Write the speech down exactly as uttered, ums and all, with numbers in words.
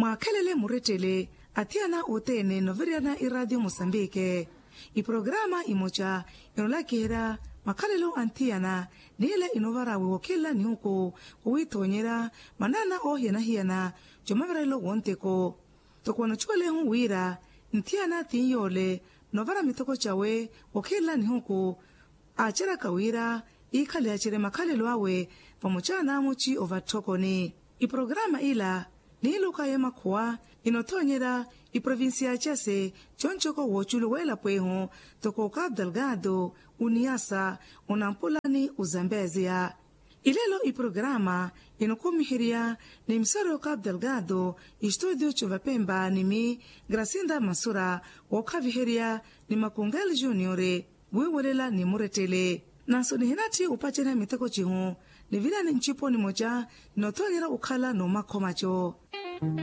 Mwaakhelele murettele athiyana othene noviriyana iraatiyo musambike. Iprograma imoca inolakiherya makhalelo anthiyana, nile inovarawe wokhela nihuku, kuwithonyerya manana ohiyanahiyana jomavirelo wonteko. Toko wanochuwelehu wira nthiyana thinyoole novara mitoko cawe wokhela nihuku, aceraka wira ikhale acere makhalelo awe vamoca namuci ovatthokoni. Iprograma ila niiluka yemakhuwa inothonyerya iprovincia case, conco ko woculu welapo ehu, toko ka abdalgado, uniyasa, unampulani, uzambezia. Ilelo iprograma inokumiherya ni misoro ka abdalgado, istudio covapemba ni mi gracinda masura, wokhaviherya ni makungel juniore, wiiwelela ni murettele. Nanso nihinatthi upacerya miteko cihu, nivirani ncipo nimoca, ninothonyerya ukhala nomakhomaco.